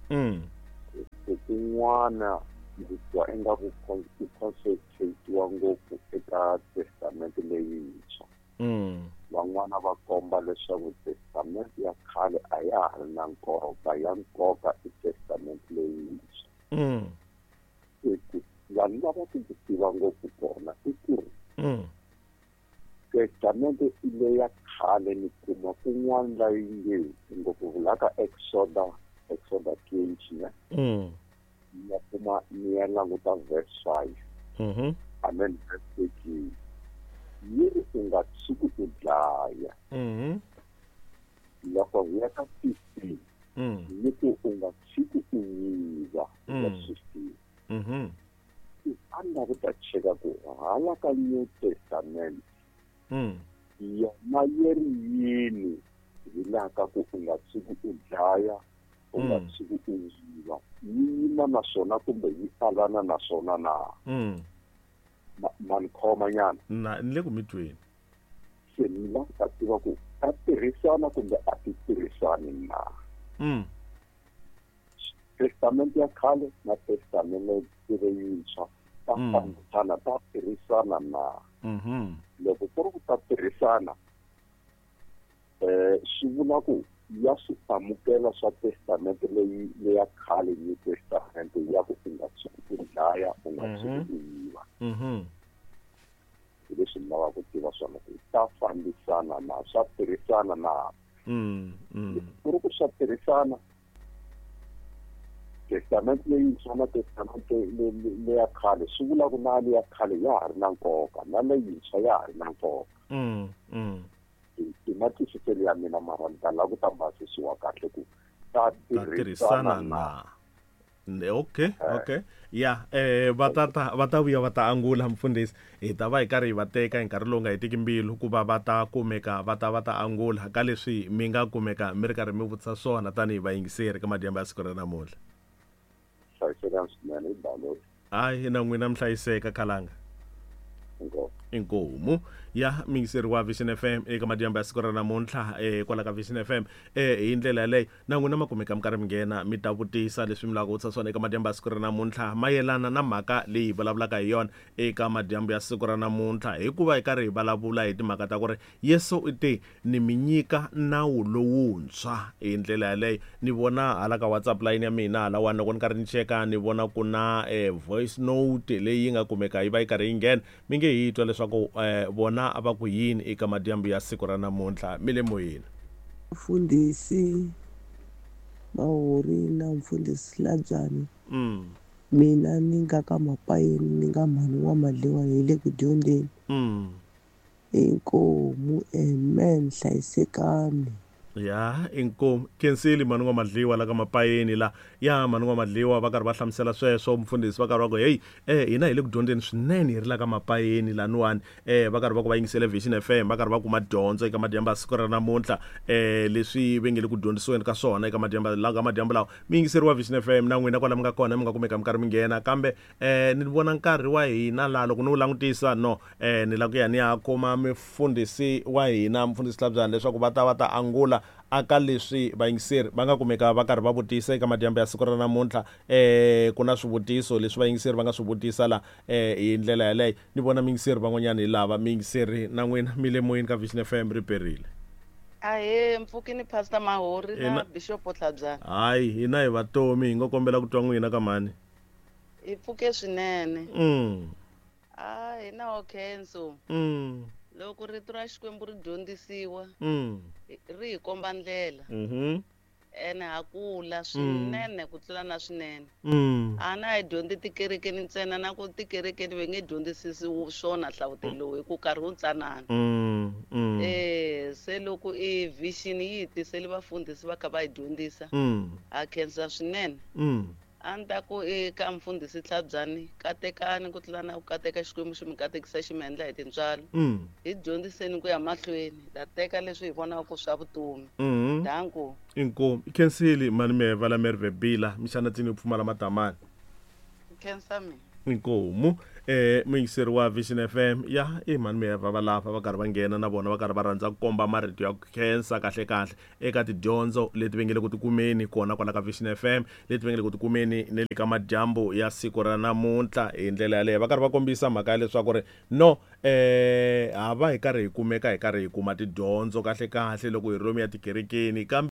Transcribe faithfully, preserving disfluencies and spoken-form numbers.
Mm. Tin'wana ndzi twa ingaku ku concentrate-iwa ngopfu eka testamente leyintshwa. Mm. Van'wana va komba leswaku testamente ya khale a ya ha ri na nkoka, ya nkoka i testamente leyintshwa. Mm. Ku vanhu lava ku tiva ngopfu kona i ku ri Mm. testamente leya khale ni kuma kun'wana la yi nge ngopfu vulaka Exoda, Exoda twenty ne? Mm. Ni ya kuma ni ya languta verse five. Mhm. Amen, verse thirteen. Yi ri u nga tshuki u dlaya. Mhm. Loko hi ya ka fifteen, Mm. yi ku u nga tshuki u yiva, Mm. verse fifteen. Mhm. A ni lava ku ta cheka ku hala ka New Testament, Mm. yona yi ri yini hi laha ka ku u nga tshuki u dlaya, u nga Mm. tshuki u yiva. Yi yima na swona kumbe yi alana na swona na? Mm. Ma, ma ni khoma nyana? Na, ni le ku mi tweni. Se ni lava ku ta tiva ku ta tirhisana kumbe a ti tirhisani na? Mm. Testamente ya khale na testamente leyintshwa ta Mm. fambisana, ta tirhisana na? Mhm. Loko ku ri ku ta tirhisana, eh, swi vula ku ya swi amukela swa testamente leyi leya khale New Testament ya ku u nga tshuki u dlaya, u nga tshuki u yiva. Mhm. Hi leswi ni lavaka ku tiva swona ku ta fambisana na, swa tirhisana na. Mm, mm. Ku ri ku swa tirhisana, testamente leyintshwa na testamente leya khale swi vula ku na leya khale ya ha ri na nkoka, na leyintshwa ya ha ri na nkoka. Mm, mm. I matwisiselo ya mina, mara ni ta lava ku ta basisiwa kahle ku ta Ta tirhisana na. Okay, okay. Ya, eh va ta ta va ta vuya va ta angula mfundhisi. Hi ta va hi karhi hi va teka hi nkarhi lowu nga hetiki mbilu ku va va ta kumeka va ta va ta angula ka leswi mi nga kumeka mi ri karhi mi vutisa swona tanihi vayingiseri ka madyambu ya siku ra namuntlha. Hlayisekani swinene, hi balo. Hayi, na n'wina mi hlayiseka khalanga. Inkomu. Inkomu ya miyingiseri wa Vision F M eka madyambu ya siku ra namuntlha, eh, kwala ka Vision F M. Eh, hi ndlela yaleyo na n'wina ma kumeka mi karhi mi nghena mi ta vutisa leswi mi lavaka ku vutisa swona eka madyambu ya siku ra namuntlha mayelana na mhaka leyi hi vulavulaka hi yona eka madyambu ya siku ra namuntlha, hikuva hi karhi hi vulavula hi timhaka ta ku ri Yesu u te ni mi nyika nawu lowuntshwa. Hi ndlela yaleyo ni vona hala ka WhatsApp line ya mina halawani loko ni karhi ni cheka ni vona ku na, eh, voice note leyi yi nga kumeka yi va yi karhi yi nghena, mi nge hi twa leswaku, eh, vona a va ku yini eka madyambu ya siku ra namuntlha. Mi le moyeni. Mfundhisi Mahori na Mfundhisi Labyani. Mm. Mina ni nga ka Mapayeni, ni nga mhani wa Madliwa, hi le ku dyondzeni. Mm. Inkomu, amen, hlayisekani. Ya, inkomu. Khensile mhani wa Madliwa la ka Mapayeni la. Ya, mhani wa Madliwa va karhi va hlamusela sweswo, mfundhisi va karhi va ku, hey, eh, hina hi le ku dyondzeni swinene hi ri la ka Mapayeni laniwani. Eh, va karhi va ku va yingisele Vision F M, va karhi va kuma dyondzo eka madyambu ya siku ra namuntlha. Eh, leswi va nge le ku dyondzisiweni ka swona eka madyambu la ka madyambu lawa. Mi yingiseriwa Vision F M na n'wina kwala mi nga kona, mi nga kumeka mi karhi mi nghena. Kambe, eh, ni vona nkarhi wa hina laha loko ni wu langutisa, no, eh, ni lava ku ya ni ya kuma mufundhisi wa hina, mufundhisi Hlabyani, leswaku va ta va ta angula aka leswi vayingiseri va nga kumeka va karhi va vutisa eka madyambu ya siku ra namuntlha. Eh, ku na swivutiso leswi vayingiseri va nga swi vutisa la, eh, hi ndlela yaleyo. Ni vona miyingiseri van'wanyana hi lava miyingiseri na n'wina mi le moyeni ka Vision F M ri perile. Ahee, mpfukini Pastor Mahori na Hina Bishop Hlabyani. Hayi, hina hi vatomi, hi nga kombela ku twa n'wina ka mhani. Hi pfuke swinene. Mm. Ah, hina ho khenso. Mm. Loko rito ra Xikwembu ri dyondzisiwa, Mm. ri hi komba ndlela. Mhm. Ene ha kula Mm. swinene ku tlula na swinene. Mm. A na hi dyondzi tikerekeni ntsena, na ku tikerekeni va nge dyondzisisi swona hlavutelo lowu hi ku nkarhi wu ntsanana. Mm, mm. Eh, se loko i vision yi hi tisele vafundhisi va kha va hi dyondzisa, Mm. ha khensa swinene. Mm. A ni ta ku eka mfundhisi Hlabyani, katekani ku tlula na ku kateka Xikwembu xi mi katekisa xi mi endla hi tintswalo. Mm. Hi dyondziseni ku ya mahlweni, hi ta teka leswi hi vonaka ku swa vutomi. Mm-hmm. Danko. Inkomu. Khensile mani me vala Merve Bila, mixana tsini pfumala matamani. Khensa mina. Inkomu eh muyingiseri wa Vision F M ya i mhani Miheva va lava va karhi va nghena na vona va karhi va rhandza ku komba marito ya ku khensa kahle kahle eka tidyondzo leti va nge le ku tikumeni kona kwala ka Vision F M, leti va nge le ku tikumeni ne le ka madyambu ya siku ra namuntlha. Hi ndlela yaleyo va karhi va kombisa mhaka ya leswaku ri no eh ha va hi karhi hi kumeka hi karhi hi kuma tidyondzo kahle kahle loko hi ri lomu ya tikerekeni, kambe